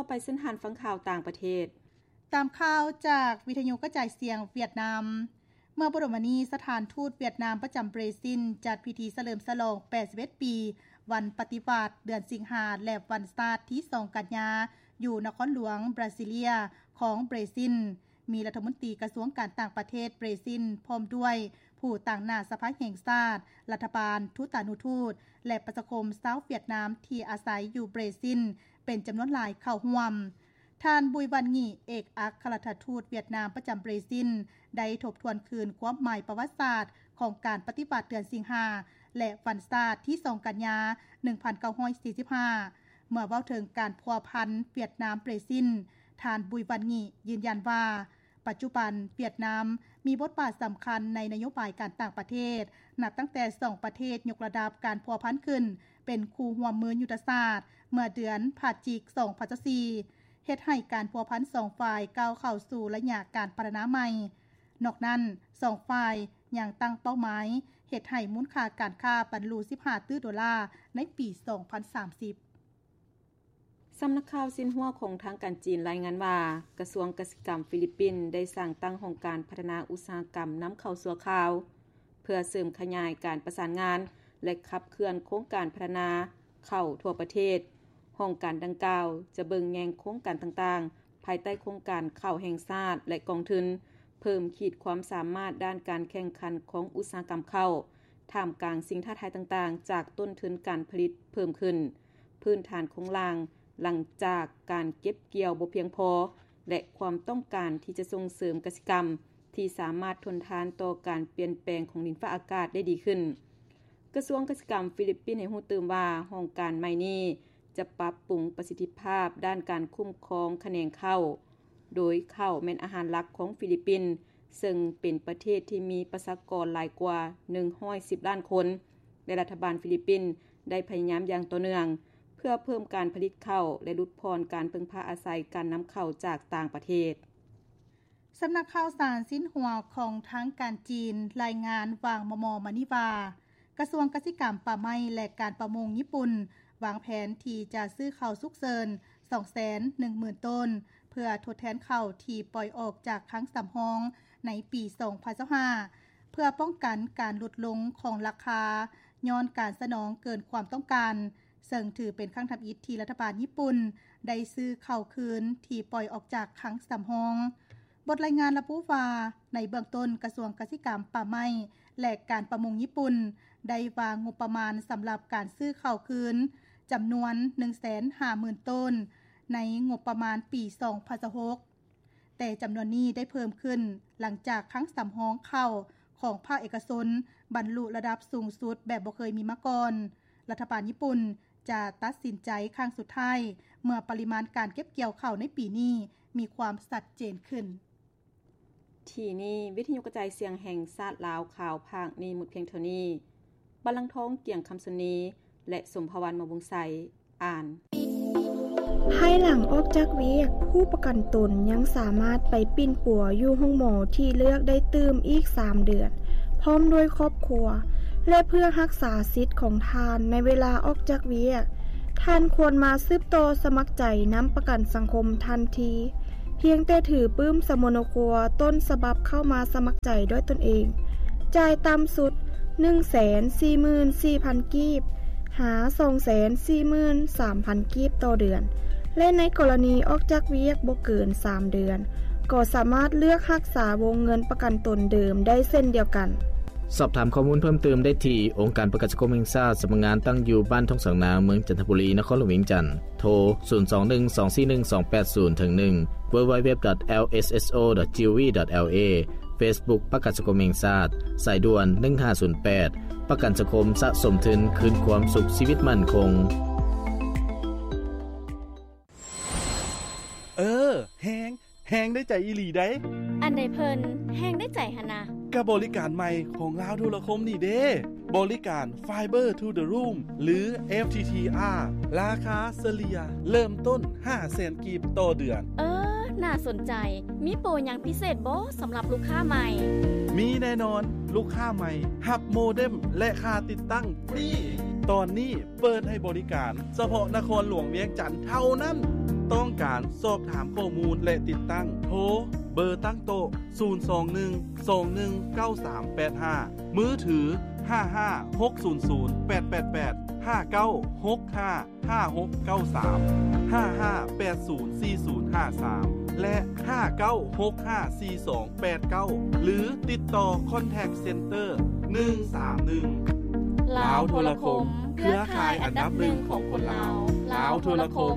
ໄປເຊີນທ່ານຟັງຂ່າວຕ່າງປະເທດ. ຕາມຂ່າວຈາກວິທະຍຸກະຈາຍສຽງຫວຽດນາມ, ເມື່ອບໍ່ດົນມານີ້ ສະຖານທູດຫວຽດນາມປະຈຳເບຣຊິນ ຈັດພິທີສະເຫຼີມສະຫຼອງ ແປດສິບເອັດ ປີ ວັນປະຕິວັດ ເດືອນສິງຫາ ແລະ ວັນຊາດ ທີສອງ ກັນຍາ ຢູ່ນະຄອນຫຼວງບຣາຊິເລຍ ຂອງເບຣຊິນ. ມີລັດຖະມົນຕີກະຊວງການຕ່າງປະເທດເບຣຊິນ ພ້ອມດ້ວຍຜູ້ຕາງໜ້າສະພາແຫ່ງຊາດ, ລັດຖະບານ, ທູຕານຸທູດ ແລະ ປະຊາຄົມຊາວຫວຽດນາມທີ່ອາໄສຢູ່ເບຣຊິນ ເປັນຈຳນວນຫຼາຍເຂົ້າຮ່ວມ. ທ່ານ ບຸຍ ວັນ ງິ ເອກອັກຄະລັດຖະທູດຫວຽດນາມປະຈຳເບຣຊິນ ໄດ້ທົບທວນຄືນຄວາມໝາຍປະຫວັດສາດຂອງການປະຕິວັດເດືອນສິງຫາ ແລະ ວັນຊາດ ທີສອງ ກັນຍາ ໜຶ່ງພັນເກົ້າຮ້ອຍສີ່ສິບຫ້າ ເມື່ອເວົ້າເຖິງການພົວພັນຫວຽດນາມ-ເບຣຊິນ, ທ່ານ ບຸຍ ວັນ ງິ ຢືນຢັນວ່າ ປັດຈຸບັນຫວຽດນາມມີບົດບາດສຳຄັນໃນນະໂຍບາຍການຕ່າງປະເທດ ນັບຕັ້ງແຕ່ສອງປະເທດຍົກລະດັບການພົວພັນຂຶ້ນເປັນຄູ່ຮ່ວມມືຍຸດທະສາດ ເມື່ອເດືອນພະຈິກ ສອງພັນຊາວສີ່ ເຮັດໃຫ້ການພົວພັນສອງຝ່າຍກ້າວເຂົ້າສູ່ໄລຍະການພັດທະນາໃໝ່. ນອກນັ້ນ, ສອງຝ່າຍຍັງຕັ້ງເປົ້າໝາຍເຮັດໃຫ້ມູນຄ່າການຄ້າບັນລຸສິບຫ້າຕື້ໂດລາໃນປີສອງພັນສາມສິບ. ສຳນັກຂ່າວຊິນຫົວຂອງທາງການຈີນລາຍງານວ່າ ກະຊວງກະສິກຳຟີລິບປິນໄດ້ສ້າງຕັ້ງຫ້ອງການພັດທະນາອຸດສາຫະກຳນຳເຂົ້າຊົ່ວຄາວ ເພື່ອເສີມຂະຫຍາຍການປະສານງານ ແລະ ຂັບເຄື່ອນໂຄງການພັດທະນາເຂົ້າທົ່ວປະເທດ. ຫ້ອງການດັ່ງກ່າວຈະເບິ່ງແຍງໂຄງການຕ່າງໆ ພາຍໃຕ້ໂຄງການເຂົ້າແຫ່ງຊາດ ແລະ ກອງທຶນ ເພີ່ມຂີດຄວາມສາມາດດ້ານການແຂ່ງຂັນຂອງອຸດສາຫະກຳເຂົ້າ ທ່າມກາງສິ່ງທ້າທາຍຕ່າງໆ ຈາກຕົ້ນທຶນການຜະລິດເພີ່ມຂຶ້ນ, ພື້ນຖານໂຄງລ່າງຫຼັງຈາກການເກັບກ່ຽວບໍ່ພຽງພໍ ແລະ ຄວາມຕ້ອງການທີ່ຈະສົ່ງເສີມກະສິກຳທີ່ສາມາດທົນທານຕໍ່ການປ່ຽນແປງຂອງດິນຟ້າອາກາດໄດ້ດີຂຶ້ນ. ກະຊວງກະສິກຳຟີລິບປິນໃຫ້ຮູ້ຕື່ມວ່າ ຫ້ອງການໃໝ່ນີ້ຈະປັບປຸງປະສິດທິພາບດ້ານການຄຸ້ມຄອງຂະແໜງເຂົ້າ, ໂດຍເຂົ້າແມ່ນອາຫານຫຼັກຂອງຟີລິບປິນ, ເຊິ່ງເປັນປະເທດທີ່ມີປະຊາກອນຫຼາຍກວ່າໜຶ່ງຮ້ອຍສິບລ້ານຄົນ ແລະ ລັດຖະບານຟີລິບປິນໄດ້ພະຍາຍາມຢ່າງຕໍ່ເນື່ອງ ເພື່ອເພີ່ມການຜະລິດເຂົ້າ ແລະ ຫຼຸດຜ່ອນການເພິ່ງພາອາໄສການນຳເຂົ້າຈາກຕ່າງປະເທດ. ສຳນັກຂ່າວສານຊິນຫົວຂອງທາງການຈີນລາຍງານຫວ່າງມໍ່ໆມານີ້ວ່າ ກະຊວງກະສິກຳ, ປ່າໄມ້ ແລະ ການປະມົງຍີ່ປຸ່ນ ວາງແຜນທີ່ຈະຊື້ເຂົ້າສຸກເສີນສອງແສນໜຶ່ງໝື່ນໂຕນ ເພື່ອທົດແທນເຂົ້າທີ່ປ່ອຍອອກຈາກຄັງສຳຮອງໃນປີສອງພັນຊາວຫ້າ ເພື່ອປ້ອງກັນການຫຼຸດລົງຂອງລາຄາຍ້ອນການສະໜອງເກີນຄວາມຕ້ອງການ, ເຊິ່ງຖືເປັນຄັ້ງທຳອິດທີ່ລັດຖະບານຍີ່ປຸ່ນໄດ້ຊື້ເຂົ້າຄືນທີ່ປ່ອຍອອກຈາກຄັງສຳຮອງ. ບົດລາຍງານລະບຸວ່າ ໃນເບື້ອງຕົ້ນ ກະຊວງກະສິກຳ, ປ່າໄມ້ ແລະ ການປະມົງຍີ່ປຸ່ນ ໄດ້ວາງງົບປະມານສຳລັບການຊື້ເຂົ້າຄືນຈຳນວນໜຶ່ງແສນຫ້າໝື່ນໂຕນ ໃນງົບປະມານປີສອງພັນຊາວຫົກ ແຕ່ຈຳນວນນີ້ໄດ້ເພີ່ມຂຶ້ນຫຼັງຈາກຄັງສຳຮອງເຂົ້າຂອງພາກເອກະຊົນບັນລຸລະດັບສູງສຸດແບບບໍ່ເຄີຍມີມາກ່ອນ. ລັດຖະບານຍີ່ປຸ່ນຈະຕັດສິນໃຈຄັ້ງສຸດທ້າຍ ເມື່ອປະລິມານການເກັບກ່ຽວເຂົ້າໃນປີນີ້ມີຄວາມຊັດເຈນຂຶ້ນ. ທີ່ນີ້ ວິທະຍຸກະຈາຍສຽງແຫ່ງຊາດລາວ ຂ່າວພາກນີ້ໝົດພຽງເທົ່ານີ້. ບັນລັງທອງ ກຽງຄຳສຸນີ ແລະ ສົມພະວັນ ມະວົງໄຊ ອ່ານ. ພາຍຫຼັງອອກຈາກວຽກ, ຜູ້ປະກັນຕົນຍັງສາມາດໄປປິ່ນປົວຢູ່ໂຮງໝໍທີ່ເລືອກໄດ້ຕື່ມອີກສາມເດືອນ ພ້ອມດ້ວຍຄອບຄົວ ແລະ ເພື່ອຮັກສາສິດຂອງທ່ານໃນເວລາອອກຈາກວຽກ, ທ່ານຄວນມາສືບຕໍ່ສະໝັກໃຈນຳປະກັນສັງຄົມທັນທີ. ພຽງແຕ່ຖືປຶ້ມສະໂມໂນຄົວຕົ້ນສະບັບເຂົ້າມາສະໝັກໃຈດ້ວຍຕົນເອງ, ຈ່າຍຕ່ຳສຸດໜຶ່ງແສນສີ່ໝື່ນສີ່ພັນກີບ ຫາສອງແສນສີ່ໝື່ນສາມພັນກີບຕໍ່ເດືອນ ແລະ ໃນກໍລະນີອອກຈາກວຽກບໍ່ເກີນສາມເດືອນ ກໍສາມາດເລືອກຮັກສາວົງເງິນປະກັນຕົນເດີມໄດ້ເຊັ່ນດຽວກັນ. ສອບຖາມຂໍ້ມູນເພີ່ມເຕີມໄດ້ທີ່ ອົງການປະກັນສັງຄົມແຫ່ງຊາດ ສຳນັກງານຕັ້ງຢູ່ບ້ານທົ່ງສາງນາງ ເມືອງຈັນທະບູລີ ນະຄອນຫຼວງວຽງຈັນ. ໂທ ສູນສອງໜຶ່ງສອງສີ່ໜຶ່ງສອງແປດສູນ ເຖິງໜຶ່ງ www.lsso.gov.la, Facebook ປະກັນສັງຄົມແຫ່ງຊາດ, ສາຍດ່ວນ ໜຶ່ງຫ້າສູນແປດ ປະກັນສັງຄົມສະສົມທຶນຄືນຄວາມສຸກຊີວິດໝັ້ນຄົງ. ເອີ ແຮງ ແຮງໄດ້ໃຈອີ່ຫຼີໃດ໋. ອັນໃດເພິ່ນແຮງໄດ້ໃຈຫັ້ນນະ? ກະບໍລິການໃໝ່ຂອງລາວໂທລະຄົມນີ້ເດ້ ບໍລິການ Fiber to the Room ຫຼື FTTR ລາຄາສະເລ່ຍເລີ່ມຕົ້ນຫ້າແສນກີບຕໍ່ເດືອນ. ເອີ ໜ້າສົນໃຈ. ມີໂປຫຍັງພິເສດບໍ່ສຳລັບລູກຄ້າໃໝ່? ມີແນ່ນອນ, ລູກຄ້າໃໝ່ຮັບໂມເດັມ ແລະ ຄ່າຕິດຕັ້ງຟຣີ. ຕອນນີ້ເປີດໃຫ້ບໍລິການສະເພາະນະຄອນຫຼວງວຽງຈັນເທົ່ານັ້ນ. ຕ້ອງການສອບຖາມຂໍ້ມູນ ແລະ ຕິດຕັ້ງ ໂທ ເບີຕັ້ງໂຕະ ສູນສອງໜຶ່ງ ສອງໜຶ່ງເກົ້າສາມແປດຫ້າ, ມືຖື ຫ້າຫ້າຫົກສູນສູນແປດແປດແປດ, ຫ້າເກົ້າຫົກຫ້າຫ້າຫົກເກົ້າສາມ, ຫ້າຫ້າແປດສູນສີ່ສູນຫ້າສາມ ແລະ ຫ້າເກົ້າຫົກຫ້າສີ່ສອງແປດເກົ້າ ຫຼື ຕິດຕໍ່ Contact Center ໜຶ່ງສາມໜຶ່ງ. ລາວໂທລະຄົມ ເຄືອຂ່າຍອັນດັບໜຶ່ງຂອງຄົນລາວ. ລາວໂທລະຄົມ